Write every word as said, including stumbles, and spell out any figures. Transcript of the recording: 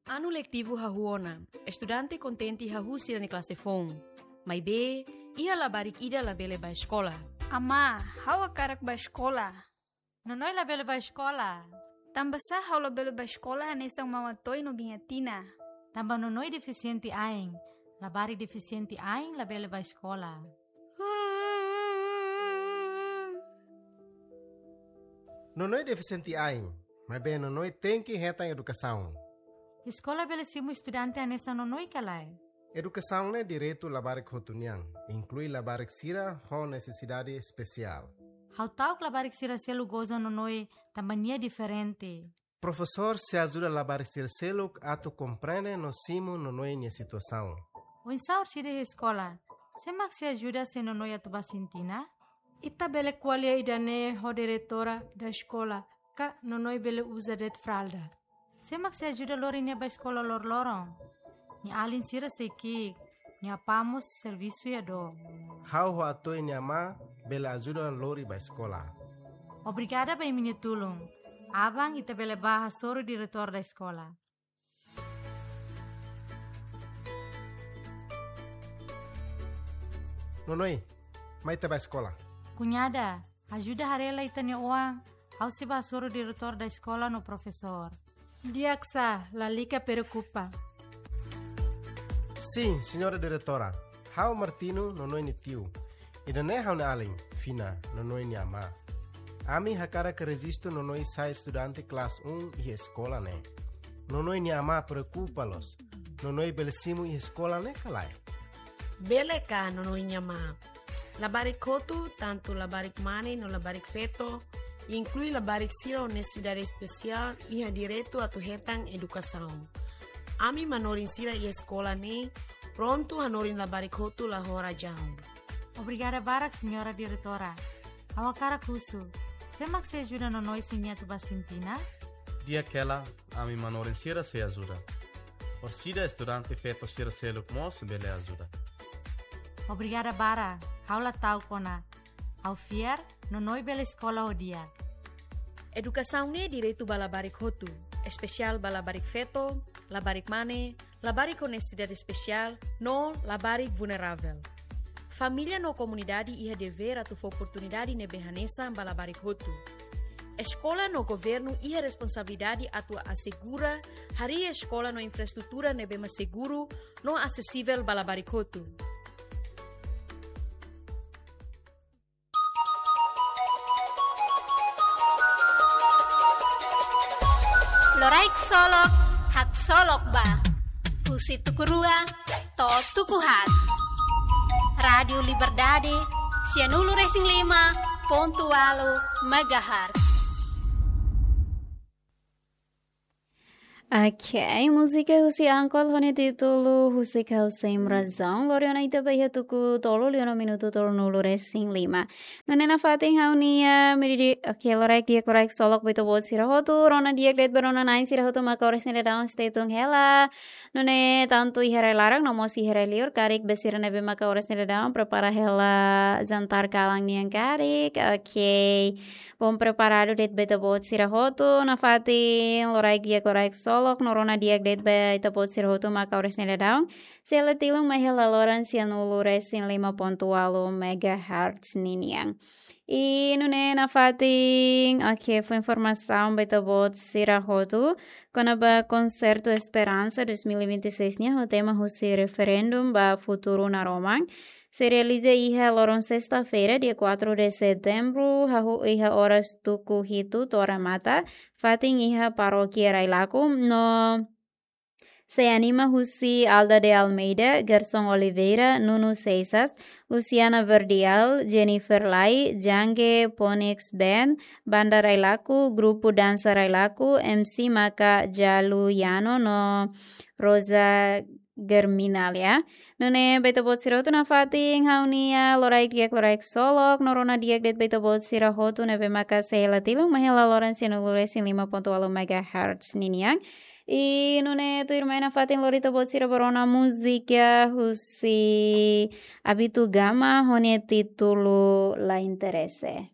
Anu letivu hahú ona, estudante kontente hahú sira-nia klase foun. Maibé, iha labarik ida labele bá eskola. Amá, ha'u hakarak bá eskola. Nonoi labele bá eskola. Tanbasá ha'u labele bá eskola hanesan Mama Toy no Biña Tina? Tanba Nonoi defisiente ain. Labarik defisiente ain labele bá eskola. Nonoi defisiente ain, maibé Nonoi tenke hetan edukasaun. Eskola bele simu estudante hanesan Nonoi ka lae? Edukasaun ne'e direitu labarik hotu nian, inklui labarik sira ho nesesidade espesiál. Ha'u ta'uk labarik sira seluk goza Nonoi tanba nia diferente. Profesór sei ajuda labarik sira seluk atu komprende no simu Nonoi nia situasaun. Oinsá orsida iha eskola? Sé mak sei ajuda se Nonoi atu bá sintina? Ita bele ko'alia ida-ne'e ho diretora da eskola, ka Nonoi bele uza de'it fralda. Sé mak sei ajuda lori nia bá eskola loroloron? Nia alin sira sei ki'ik, nia apá mós servisu iha dook. Ha'u ho Atoy nia amá bele ajuda lori bá eskola. Obrigada ba imi-nia tulun. Aban ita bele bá hasoru diretór da eskola. Nonoi, mai ita bá eskola. Kuñada, ajuda haree lai ita-nia oan, ha'u sei bá hasoru diretór da eskola no profesór. Di'ak sá, lalika preokupa. Sin, señora diretora. Ha'u Martino, Nonoi nia tiu. Ida-ne'e ha'u-nia alin, Fina, Nonoi nia amá. Ami hakarak rejistu Nonoi sai estudante klase un iha eskola ne'e. Nonoi nia amá preokupa loos. Nonoi bele simu iha eskola ne'e ka lae? Bele ka, Nonoi nia amá. Labarik hotu, tantu labarik mane no labarik feto, inklui labarik sira ho nesesidade espesiál, iha direitu atu hetan edukasaun. Ami manorin sira iha eskola ne'e prontu hanorin labarik hotu la ho razaun. Obrigada barak, señora diretora. Ha'u hakarak husu, sé mak sei ajuda Nonoi se nia atu bá sintina? Di'ak hela, ami manorin sira sei ajuda. Orsida estudante feto sira seluk mós bele ajuda. Obrigada barak, ha'u la ta'uk ona. Ha'u fiar, Nonoi bele eskola ho di'ak. Edukasaun ne'e direitu ba labarik hotu, espesiál ba labarik feto, labarik mane, labarik ho nesesidade espesiál, no labarik vulneravel. Família no komunidade iha devér atu fó oportunidade ne'ebé hanesan ba labarik hotu. Eskola no governu iha responsabilidade atu asegura harii eskola no infraestrutura ne'ebé mak seguru no asesivel ba labarik hotu. Loraik Solok, haksolok ba. Husi tuku rua to'o tuku haat. Rádiu Liberdade, sianulu resin lima pontu ualu megahertz. Ok, múzika husi Ankol ho nia títulu Husik Ha'u Sem Razaun. Lori ona ita ba iha tuku tolu liu ona minutu tolunulu resin lima. Nune'e nafatin ha'u-nia, miri di, ok, loraik di'ak, loraik solok ba ita-boot sira hotu, rona di'ak de'it ba rona-na'in sira hotu maka oras ne'e daudaun stay tune hela. Nune'e tantu iha rai-laran no mós iha rai-liur, karik ba sira ne'ebé maka oras ne'e daudaun prepara hela jantar kalan nian karik. Ok. Bom preparadu de'it ba ita-boot sira hotu, nafatin loraik di'ak, loraik solok, no rona di'ak de'it ba ita-boot sira hotu maka oras ne'e daudaun sei hela tilun mai hela loron sianulu resin lima pontu ualu megahertz ninian. I nune'e nafatin, ok, fó informasaun ba ita-boot sira hotu kona-ba konsertu Esperansa dois mil e vinte e seis nian ho tema husi referendu ba futuru naroman. Sei realiza iha loron sesta-feira, dia quatro de setembro, hahú iha oras tuku hitu to'o remata, fatin iha Parókia Railaco, no sei anima husi Alda de Almeida, Gerson Oliveira, Nuno Seixas, Luciana Verdial, Jennifer Lai, Jange, Ponix Band, Banda Railaco, Grupu Dansa Railaco, M C maka Jalu Yano no Rosa Germinalia. Nune'e ba ita-boot sira hotu nafatin ha'u-nia loraik di'ak, loraik solok, no rona di'ak de'it ba ita-boot sira hotu ne'ebé maka sei hela tilun mai hela loron sianulu resin lima pontu ualu megahertz ninian. I nune'e tuirmai nafatin lori ita-boot sira ba rona múzika husi Abito Gama ho nia títulu La Interese.